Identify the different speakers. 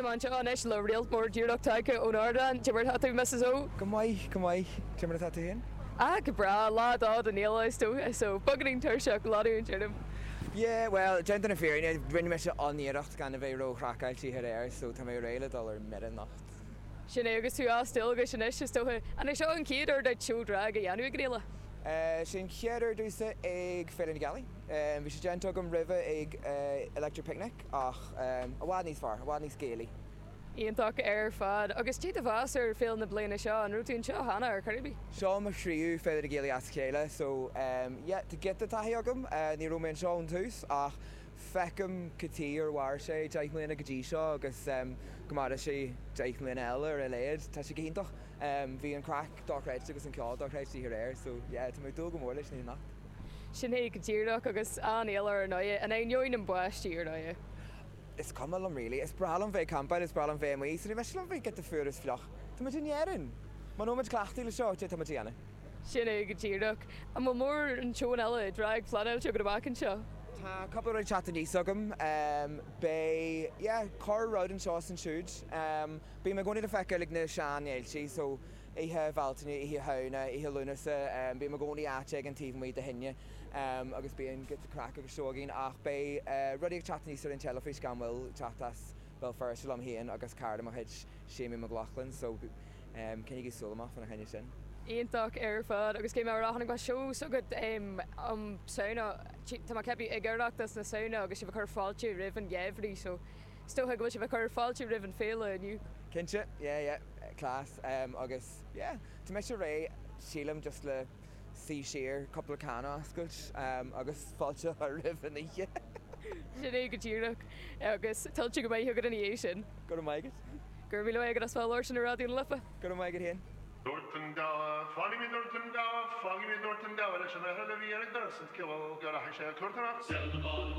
Speaker 1: Tá mé anseo anois le réalt mór díreach tagtha ón ardán. Cad é mar atá tú, Mrs O?
Speaker 2: Go maith, go maith. Cad é mar atá tú féin?
Speaker 1: Ah, go breá. Lá 2 den fhéile is dócha, so beagáinín tuirseach, leanúint orm.
Speaker 2: Yeah, bhuel, déanta na fírinne, rinne mise an-iarracht gan a bheith ró-chraiceáilte aréir, so tá mé réidh le dul ar mire anocht.
Speaker 1: Sin é, agus tú as dualgais anois, is dócha. An é seo an chéad uair duit seó drag a dhéanamh ag an fhéile?
Speaker 2: Sé an chéad uair domhsa ag Féile na Gealaí. Bhí sé déanta agam roimhe ag Electric Picnic ach i bhfad níos fearr, i bhfad níos Gaelaí.
Speaker 1: Iontach ar fad. Agus cad é do mheas ar féile na bliana seo? An raibh tú anseo cheana ar chor ar bith?
Speaker 2: Seo mo thríú Féile na Gealaí as a chéile so yeah, tá giota taithí agam. Ní raibh mé anseo ón tús ach feicim cad chuige ar mhair sé 10 mbliana go dtí seo agus go mairfidh sé 10 mbliana eile ar a laghad. Tá sé go hiontach. Bhí an craic dochreidte agus an ceol dochreidte oíche aréir so yeah, tá mé ag dúil go mór leis an oíche anocht.
Speaker 1: Sin é go díreach agus an-fhéile ar ndóighe, in ainneoin an báistí ar ndóighe.
Speaker 2: Is cuma liom really. Is breá liom bheith ag campáil, is breá liom bheith amuigh so ní miste liom bheith giota fuar is fliuch. Tá muid in Éirinn! Muna bhfuil muid cleachtaithe le seo, cad é atá muid a dhéanamh?
Speaker 1: Sin é go díreach. An bhfuil mórán seónna eile drag pleanáilte agat amach anseo?
Speaker 2: Tá cúpla rud ag teacht aníos agam. Beidh, yeah, corr rud anseo is ansiúd. Bím i gcónaí le feiceáil ag na sean-fhéiltí so Oíche Bhealtaine, Oíche Shamhna, Oíche Lúnasa, bím i gcónaí áit éigin taobh amuigh de thine agus bíonn giota craic agus seó againn ach beidh rudaí ag teacht aníos ar an teilifís gan mhoill, teacht as Béal Feirste liom féin agus cara de mo chuid, Séimí Mac Lochlainn so coinnigí súil amach fána choinne sin.
Speaker 1: Iontach ar fad agus cé mar a chonaic mé seó s'agat um Samhna, tá mé ag ceapadh ag Oireachtas na Samhna agus sibh ag cur fáilte roimh an gheimhreadh so Is dócha go bhfuil sibh ag cur fáilte roimh an féile inniu.
Speaker 2: Cinnte, yeah, yeah, class, agus yeah, tá mise réidh, sílim, just le suí siar, cúpla can a oscailt agus fáilte a chur roimh an oíche.
Speaker 1: Sin é go díreach, agus tuillte go maith agat ina dhiaidh sin.
Speaker 2: Go raibh maith agat.
Speaker 1: Go raibh míle maith agat as bheith ag labhairt linn ar Raidió na Life.
Speaker 2: Go raibh maith agat féin.
Speaker 3: Dúirt an gabha, Fágfaidh mé Dúirt an gabha, Fágfaidh mé Dúirt an gabha leis an fhear a bhí ar an doras an sciobadh go rachaidh sé a cur